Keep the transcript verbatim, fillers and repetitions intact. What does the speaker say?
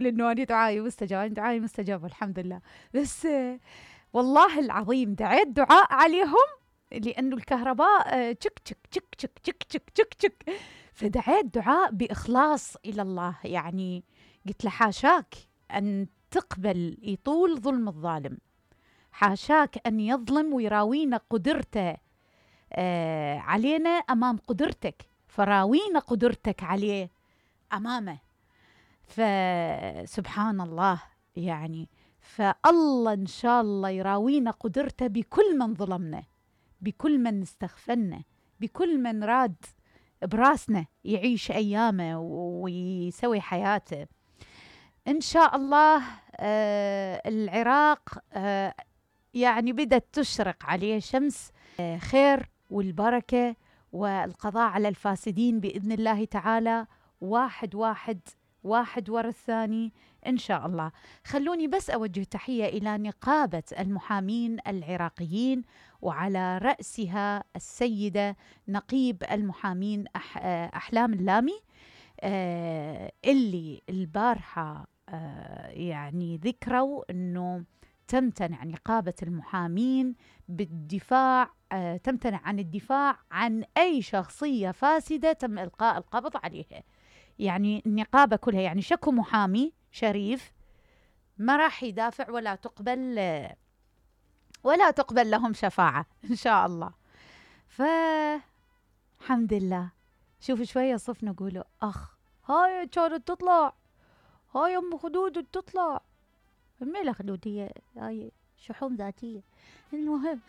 لأنه أنا دعائي مستجاب، أنا دعائي مستجاب الحمد لله. بس والله العظيم دعيت دعاء عليهم لأنه الكهرباء تشك تشك تشك تشك تشك تشك تشك تشك، فدعيت دعاء بإخلاص إلى الله. يعني قلت له حاشاك أن تقبل يطول ظلم الظالم، حاشاك أن يظلم ويراوينا قدرته آه علينا أمام قدرتك، فراوينا قدرتك عليه أمامه. فسبحان الله يعني، فالله إن شاء الله يراوينا قدرته بكل من ظلمنا، بكل من استغفلنا، بكل من راد براسنا يعيش أيامه ويسوي حياته إن شاء الله. آه العراق آه يعني بدأت تشرق عليه شمس آه خير والبركة والقضاء على الفاسدين بإذن الله تعالى، واحد واحد واحد ورا الثاني إن شاء الله. خلوني بس أوجه تحية إلى نقابة المحامين العراقيين، وعلى رأسها السيدة نقيب المحامين أح أحلام اللامي، آه اللي البارحة آه يعني ذكروا أنه تمتنع نقابة المحامين بالدفاع، آه تمتنع عن الدفاع عن أي شخصية فاسدة تم إلقاء القبض عليها. يعني النقابة كلها يعني شكو محامي شريف ما راح يدافع ولا تقبل ولا تقبل لهم شفاعة إن شاء الله. فالحمد لله. شوف شوية صف نقوله أخ هاي كانت تطلع، هاي أم خدود تطلع، ميلا خدود هي هاي شحوم ذاتية. المهم